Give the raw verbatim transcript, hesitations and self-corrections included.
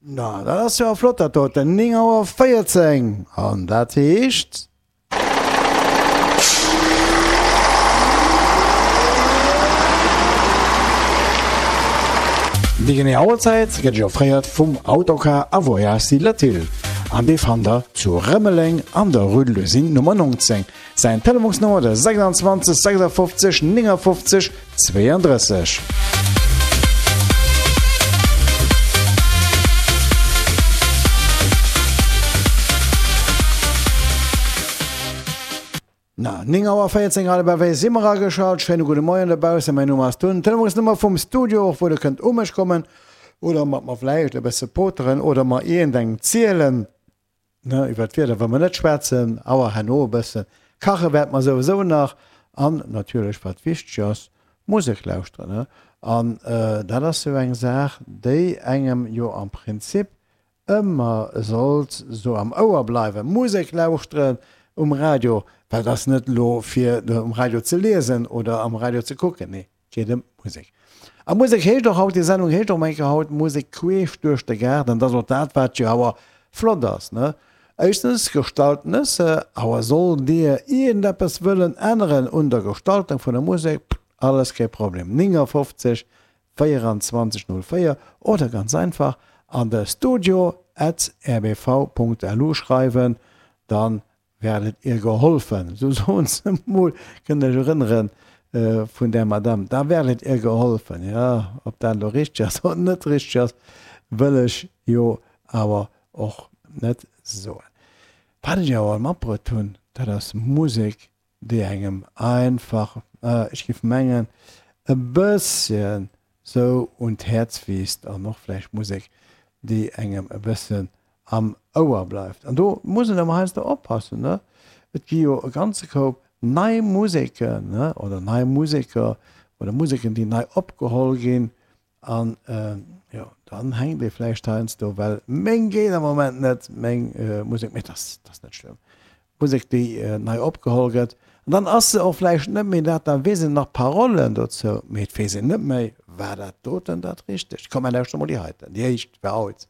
Na, dat ass jo flott dat doten, néng Auer véierzéng, an dat heescht. Déi genee Auerzäit gëtt Iech offréiert vum Autocar a Voyages Latil an dee fannt der zu Rëmeleng an der Rue de l'Usine Nummer neunzéng. Säin Telefonsnummer de sechsundzwanzeg sechsundfünfzig neunundfünfzig zweiunddrësseg. Na, néng Auer véierzéng grad op ewéi si mer ageschalt. Schéine gudde Moien dobaussen. Mäin Numm ass Tun. Telefonsnummer vum Studio, och wou der kënnt u mech kommen oder mat mer vläicht e bësse poteren oder mer iergendeng zielen. Ne, iwwer d'Wieder wëlle mer net schwätzen, awer herno e bëssen. Kache wäerte mer souwisou nach. An natierlech, wat wichteg ass, Musek lauschteren. Ne? An dat ass jo eng Saach, déi engem jo am Prinzip ëmmer sollt sou am Ouer bleiwen. Musek lauschteren um Radio, well et ass net elo fir um Radio ze liesen oder am Radio ze kucken, nee, et geet ëm d'Musek. A Musek heescht och haut, déi Sendung heescht och eng Kéier haut Musek queesch duerch de Gaarden. Dat ass och dat, wat jo awer flott ass, ne? Éischtens gestalten ech se, awer sollt Dir iergendeppes wëllen änneren un der Gestaltung vun der Musek, alles kee Problem, neunundfünfzig vierundzwanzig null vier oder ganz einfach an de studio at r b v punkt l u schreiwen, dann werdet ihr geholfen. Sou soen se emol, kënnt Iech erënneren vun där Madame, da werdet ihr geholfen. Jo, ob dat elo richteg ass oder net richteg ass, wëll ech jo awer och net soen. Wat ech awer matbruet hunn, dat ass Musek, déi engem einfach, ech géif mengen, e bësschen sou un d'Häerz wiisst an och vläicht Musek, déi engem e bëssen am Ouer bleift. An do muss een awer heiansdo oppassen, ne? Et gi jo e ganze Koup nei Museken, ne, oder nei Museker oder Museken, déi nei opgeholl ginn. An jo, dann hänkt ee vläicht heiansdo, well meng geet am Moment net, meng Musek, mee dat ass, dat ass net schlëmm. Musek, déi nei opgeholl gëtt, an dann ass se och vläicht net méi dat, da weess een nach d'Parollen dozou, mee et weess een net méi, war dat doten dat Richtegt? Komm, mer lauschteren emol déi heiten, déi éischt fir haut.